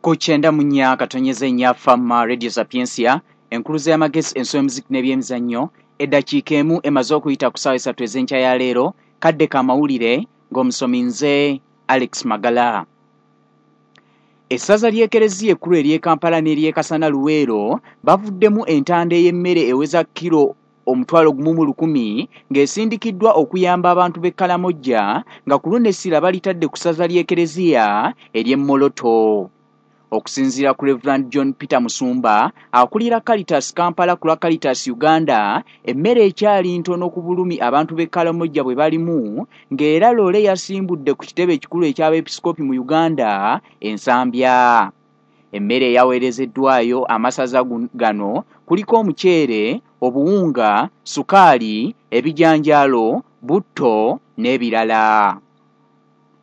Ku 94.4 Fama Radio Sapientia, enkuluze y'amagezi, enso y'omuziki n'ebyemizannyo. Eddakiika 1 emaze okuyita ku ssaawa 3 ez'enkya ya leero. Kadde k'amawulire ng'omusomi nze Alex Magala. Essaza ly'Ekereziya ekkulu ery'e Kampala n'ery'e Kasana Luweero bavuddemu entanda ey'emmere eweza kiro 1,100 ng'esindikiddwa okuyamba abantu b'e Kalamojja, nga ku luno essira balitadde ku ssaza ly'Ekereziya ery'e Moroto. Okusinziira ku Reverend John Peter Musumba, akulira Caritas Kampala ku lwa Caritas Uganda, emmere ekyali ntono ku bulumi abantu b'e Kalamojja bwe balimu, ng'era loole yasimbudde ku kitebe ekikulu eky'abeepisikoopi mu Uganda, Ensambya. Emmere eyaweerezeddwayo amasaza gano kuliko omuceere, obuwunga, sukaali, ebijanjaalo, butto n'ebirala.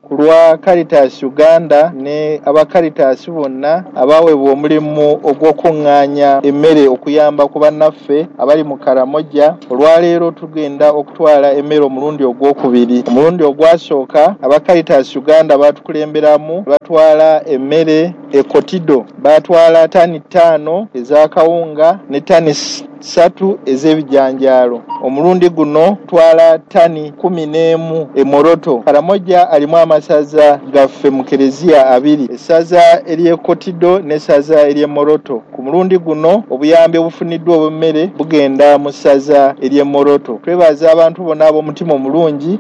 Ku lwa Caritas Uganda ne aba Caritas bonna abaweebwa omulimu ogw'okuŋŋaanya emmere okuyamba ku bannaffe abali mu Karamojja, olwaleero tugenda okutwala emmere omulundi ogwokubiri. Omulundi ogwasooka aba Caritas Uganda baatukulemberamu, batwala emmere e Kotido, baatwala tani 5 ez'akawunga ne tani 3 ez'ebijanjaalo. Omulundi guno twala tani 11 e Moroto. Karamojja alimu amasaza gaffe mu kereziya 2, essaza ery'e Kotido n'essaza ery'e Moroto. Ku mulundi guno obuyambi obufuniddwa obw'emmere bugenda mu ssaza ery'e Moroto. Twebaza abantu bonna ab'omutima omulungi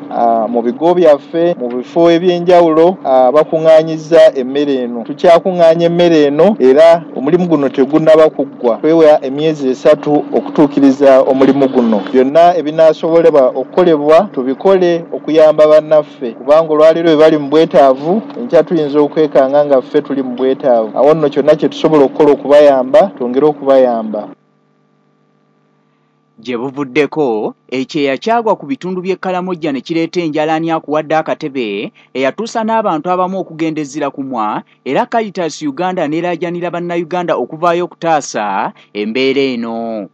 mu bigo byaffe, mu bifo eby'enjawulo bakuŋŋaanyizza emmere eno. Tukyakuŋŋaanya emmere eno era omulimu guno tegunnaba kuggwa. Twewa emyezi 3 okutuukiriza omulimu guno. Byonna ebinaasobolebwa okukolebwa tubikole okuyamba bannaffe, kubanga olwaleero bwe bali mu bwetaavu, enkya tuyinza okwekanga nga ffe tuli mu bwetaavu. Awo nno kyonna kye tusobola okukola okubayamba, twongere okubayamba. Gye buvuddeko ekyeya kyagwa ku bitundu by'e Kalamojja ne kireeta enjala ani akuwadde akatebe eyatuusa n'abantu abamu okugenda ezzira kumwa, era Caritas Uganda n'eraajanira bannayuganda okuvaayo okutaasa embeera eno.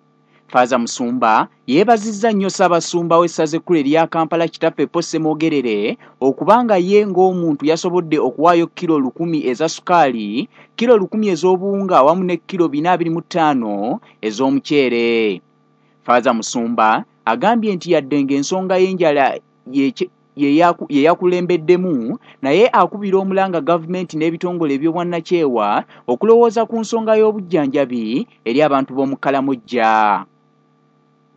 Faaza Musumba yeebazizza nnyo Ssaabasumba w'essaza ekkulu erya Kampala Kitaffe Paul Ssemwogerere okubanga ye ng'omuntu yasobodde okuwaayo kiro 1000 eza sukaali, kiro 1000 ez'obuwunga awamu ne kiro 425 ez'omuceere. Faaza Musumba agambye nti yadde ng'ensonga y'enjala ye yakulembeddemu, naye akubira omulanga gavumenti n'ebitongole eby'obwannakyewa okulowooza ku nsonga y'obujjanjabi eri abantu b'omu Kalamojja.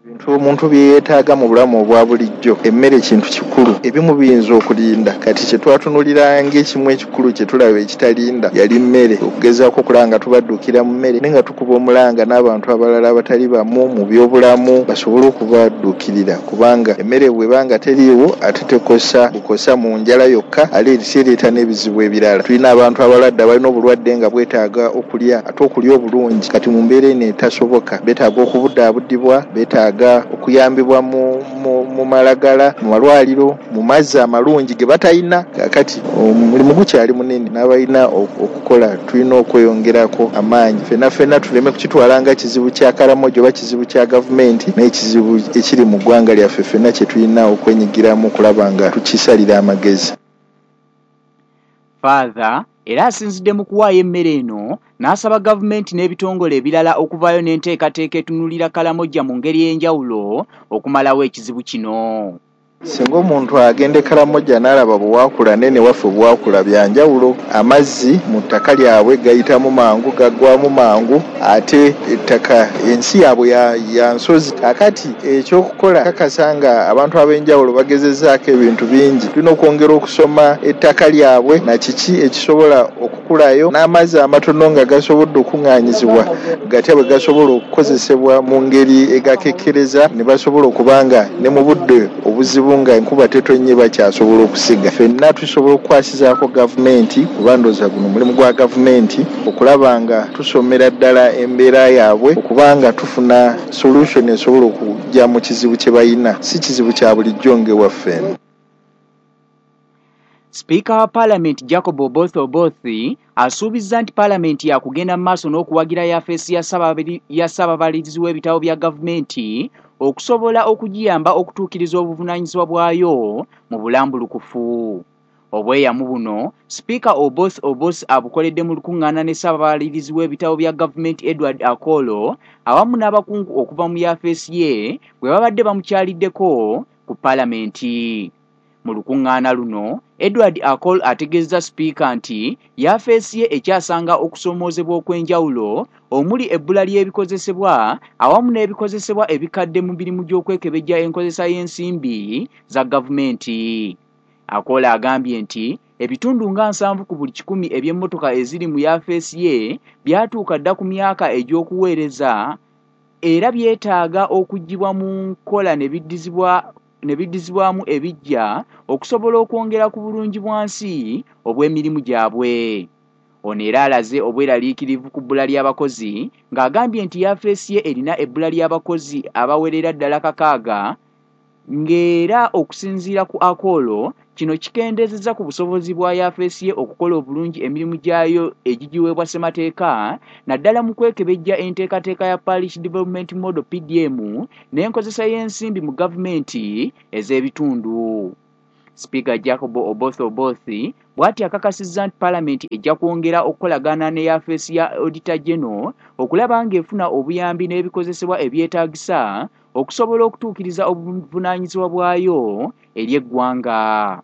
Ebintu omuntu bye yeetaaga mu bulamu obwa bulijjo, emmere kintu kikulu, ebimu biyinza okulinda. Kati kye twatunulira ng'ekimu ekikulu kye tulaba ekitalinda yali mmere, okugezaako okulaba nga tubadduukira mu mmere, naye nga tukuba omulanga n'abantu abalala abatali bamu mu byobulamu basobole okubadduukirira, kubanga emmere bw'eba nga teriiwo ate tekosa bukosa mu njala yokka, ate ereeta n'ebizibu ebirala. Tulina abantu abalwadde abalina obulwadde nga bwetaaga okulya, ate okulya obulungi. Kati mu mbeera eno etasoboka, beetaaga okubudaabudibwa, beetaaga okuyambibwa mu malagala, mu malwaliro, mu mazzi amalungi ge batalina. Kaakati omulimu gukyali munene n'abalina okukola tulina okweyongerako amaanyi. Ffenna ffenna tuleme kukitwala nga kizibu kya Karamojja oba kizibu kya gavumenti, naye kizibu ekiri mu ggwanga lyaffe ffenna kye tulina okwenyigiramu okulaba nga tukisalira amagezi. Father era asinzidde mu kuwaayo emmere eno n'asaba gavumenti n'ebitongole ebirala okuvaayo n'enteekateeka etunuulira Kalamojja mu ngeri ey'enjawulo okumalawo ekizibu kino. Singa omuntu agenda e Karamojja n'alaba bwe waakula nene waffe bwe waakula bya njawulo, amazzi mu ttaka lyabwe gayitamu mangu, gaggwamu mangu, ate ettaka ensi yaabwe ya nsozi. Kaakati ekyokukola kakasa nga abantu ab'enjawulo bagezezzaako ebintu bingi, tulina okwongera okusoma ettaka lyabwe na kiki ekisobola okukulayo, n'amazzi amatono nga gasobodde okuŋŋaanyizibwa gatya bwe gasobola okukozesebwa mu ngeri egakekkereza, ne basobola okuba nga ne mu budde obuzibu nga enkuba tetonnye bakyasobola okusiga. Ffenna tusobola okukwasizaako gavumenti, kuba ndowooza guno mulimu gwa gavumenti okulaba nga tusomera ddala embeera yaabwe, okuba nga tufuna solution esobola okujja mu kizibu kye balina, si kizibu kya bulijjo ng'ewaffe eno. Sipiika wa Paalamenti Jacob Oboth Oboth asuubizza nti Paalamenti yakugenda mu maaso n'okuwagira yafeesi ya Ssaababalirizi w'ebitabo bya gavumenti okusobola okugiyamba okutuukiriza obuvunaanyizibwa bwayo mu bulambulukufu. Obweyamu buno Sipiika Oboth Oboth abukoledde mu lukuŋŋaana ne Ssaababalirizi w'ebitabo bya gavumenti Edward Akolo awamu n'abakungu okuva mu yafeesi ye bwe babadde bamukyaliddeko ku Palamenti. Mu lukuŋŋaana luno, Edward Akol ategeezezza Sipiika nti yafeesi ye ekyasanga okusoomoozebwa okw'enjawulo omuli ebbula ly'ebikozesebwa awamu n'ebikozesebwa ebikadde mu mirimu gy'okwekebejja enkozesa y'ensimbi za gavumenti. Akol agambye nti ebitundu nga 70 ku buli kikumi eby'emmotoka eziri mu yafeesi ye byatuuka dda ku myaka egy'okuweereza era byetaaga okuggyibwa mu nkola ne biddizibwamu ebiggya okusobola okwongera ku bulungi bwansi obw'emirimu gyabwe. Ono era alaze obweraliikirivu ku bbula ly'abakozi ng'agambye nti yafeesi ye erina ebbula ly'abakozi abawerera ddala 6 ng'era okusinziira ku Akolo kino kikendeezezza ku busobozi bwa yafeesi ye okukola obulungi emirimu gyayo egigiweebwa ssemateeka naddala mu kwekebejja enteekateeka ya Parish Development Model PDM n'enkozesa y'ensimbi mu gavumenti ez'ebitundu. Sipiika Jacob Oboth Oboth bw'ati akakasizza nti Palamenti ejja kwongera okukolagana ne yafeesi ya Auditor General okulaba ng'efuna obuyambi n'ebikozesebwa ebyetaagisa okusobola okutuukiriza obuvunaanyizibwa bwayo eri eggwanga.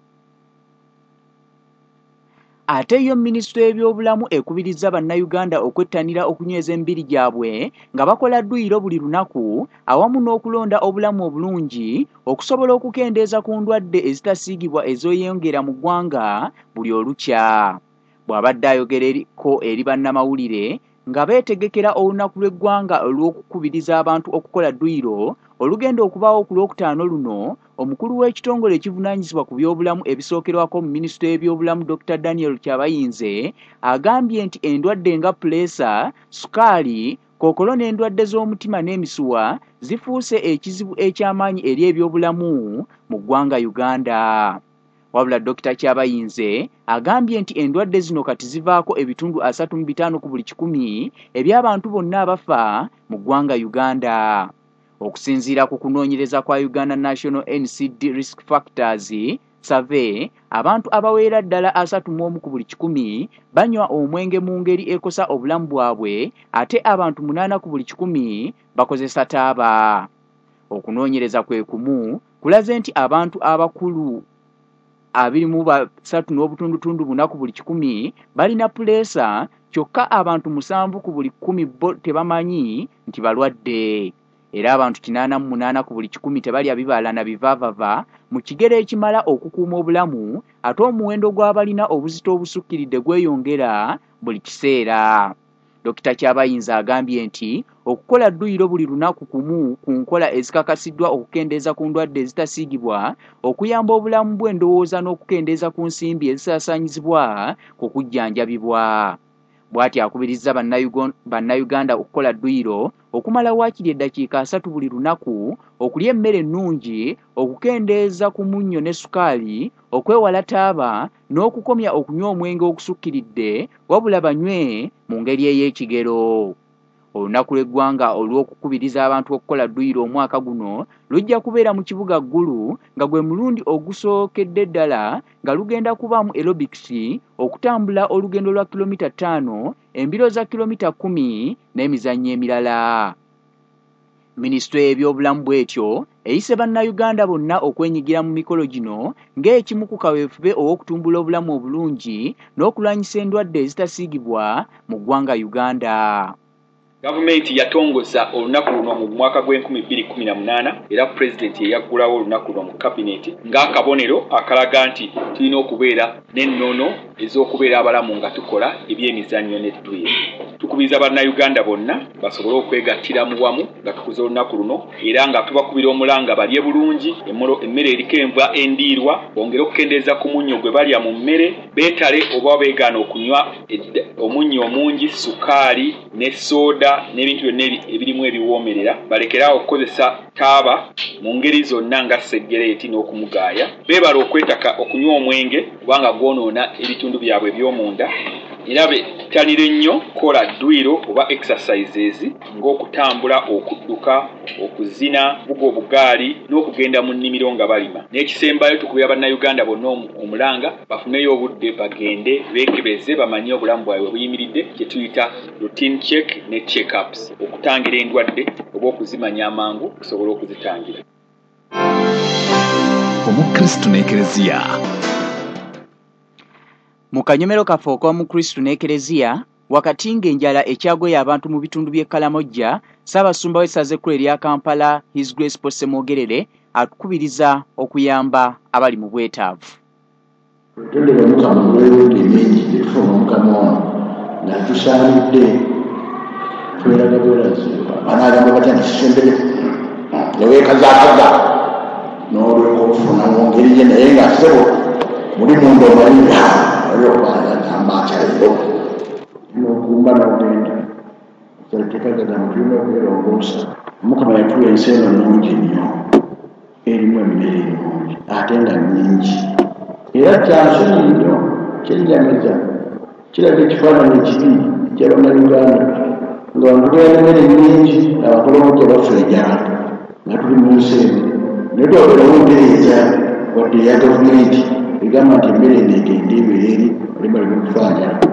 Ate yo minisitule y'ebyobulamu ekubirizza bannayuganda okwettanira okunyweza emibiri gyabwe nga bakola dduyiro buli lunaku awamu n'okulonda obulamu obulungi okusobola okukendeeza ku ndwadde ezitasiigibwa ezeeyongera mu ggwanga buli olukya. Bw'abadde ayogerako eri bannamawulire nga beetegekera olunaku lw'eggwanga olw'okukubiriza abantu okukola dduyiro olugenda okubaawo ku Lwokutaano luno, omukulu w'ekitongole ekivunaanyizibwa ku byobulamu ebisookerwako mu minisitule y'ebyobulamu Dr. Daniel Kyabayinze agambye nti endwadde nga puleesa, sukaali, kookolo n'endwadde z'omutima n'emisuwa zifuuse ekizibu eky'amaanyi eri ebyobulamu mu ggwanga Uganda. Wabula Dr. Kyabayinze agambye nti endwadde zino kati zivaako ebitundu 35 ku buli kikumi eby'abantu bonna abafa mu ggwanga Uganda. Okusinziira ku kunoonyereza kwa Uganda National NCD Risk Factors Survey, abantu abaweera ddala 31 ku buli kikumi banywa omwenge mu ngeri ekosa obulamu bwabwe ate abantu 8 ku buli kikumi bakozesa taaba. Okunoonyereza kwe kumu kulaze nti abantu abakulu 23.4 ku buli kikumi balina puleesa kyokka abantu 7 ku buli 10 bo tebamanyi nti balwadde. Era abantu 88 ku buli kikumi tebalya bibala na bivaavava mu kigero ekimala okukuuma obulamu ate omuwendo gw'abalina obuzito obusukkiridde gweyongera buli kiseera. Dr. Kyabayinze agambye nti okukola dduyiro buli lunaku kumu ku nkola ezikakasiddwa okukendeeza ku ndwadde ezitasiigibwa, okuyamba obulamu bw'endowooza n'okukendeeza ku nsimbi ezisaasaanyizibwa ku kujjanjabibwa. Bw'ati akubirizza bannayuganda okukola dduyiro okumala waakiri eddakiika 30 buli lunaku, okulya emmere ennungi, okukendeeza ku munnyo ne sukaali, okwewala taaba n'okukomya okunywa omwenge okusukkiridde wabula banywe mu ngeri ey'ekigero. Olunaku lw'eggwanga olw'okukubiriza abantu okukola dduyiro omwaka guno lujja kubeera mu kibuga Ggulu nga gwe mulundi ogusookedde ddala nga lugenda kubaamu aerobics, okutambula olugendo lwa kilomita 5, embiro za kilomita 10 n'emizannyo emirala. Minisitule y'ebyobulamu bw'etyo eyise bannayuganda bonna okwenyigira mu mikolo gino ng'ekimu ku kaweefube ow'okutumbula obulamu obulungi n'okulwanyisa endwadde ezitasiigibwa mu ggwanga Uganda. Gavumenti yatongoza olunaku luno mu mwaka gw'e 2018 era pulezidenti ye yaggulawo olunaku luno mu kabineeti ng'akabonero akalaga nti tulina okubeera n'ennono ez'okubeera abalamu nga tukola ebyemizannyo n'edduyiro. Tukubiriza bannayuganda bonna basobole okwegattira mu wamu nga tukuza olunaku luno era nga tubakubira omulanga balye bulungi emmere eriko enva endiirwa, bongere okukendeeza ku munnyo gwe balya mu mmere, beetale oba beegaana okunywa omunnyo omungi, sukaali ne sooda n'ebintu byonna ebirimu ebiwoomerera, balekere awo okukozesa taaba mu ngeri zonna nga seggereeti n'okumugaaya, beebale okwetaka okunywa omwenge kubanga gwonoona ebitundu byabwe eby'omunda era Battanire nnyo kukola dduyiro oba exercises ng'okutambula, okudduka, okuzina, okuvuga obugaali n'okugenda mu nnimiro nga balima. N'ekisembayo, tukubira Bannayuganda bonna omulanga bafuneyo obudde bagende beekebeze bamanye obulamu bwabwe bwe buyimiridde, kye tuyita routine check ne check ups, okutangira endwadde oba okuzimanya amangu okusobola okuzitangira. Omukristu n'Ekereziya. Mu kanyomero kaffe ok'Omukristu n'Ekereziya, wakati ng'enjala ekyagoye abantu mu bitundu by'e Kalamojja, Ssaabasumba w'essaza ekkulu erya Kampala, His Grace Paul Ssemwogerere atukubiriza okuyamba abali mu bwetaavu. Twetondere Omukama olw'emirundi emingi gye tufuna Omukama ono nga tetusaanidde, tweraga bwerazi. Banaagamba batya nti sisembere ne weekazaakaza n'olyoka okufuna mu ngeri ye, naye nga ssebo muli munda omanyi olwokuba agamba atya leero n'ogumba n'ogenda. Etteeka gagamba tulina okwerongoosa. Omukama yatuwa ensi eno nnungi nnyo, erimu emmere ennungi ate nga nnyingi, era kyansonyi nnyo, kyennyamiza, kiraga ekifaananyi ekibi ekya Bannayuganda nga wano tubeera n'emmere nnyingi, Abakolomoja bafa enjala nga tuli mu nsi eno, naye twabeerawo ntereeza wadde eya gavumenti egamba nti emmere eno egende ebeere eri baleme okufa njala.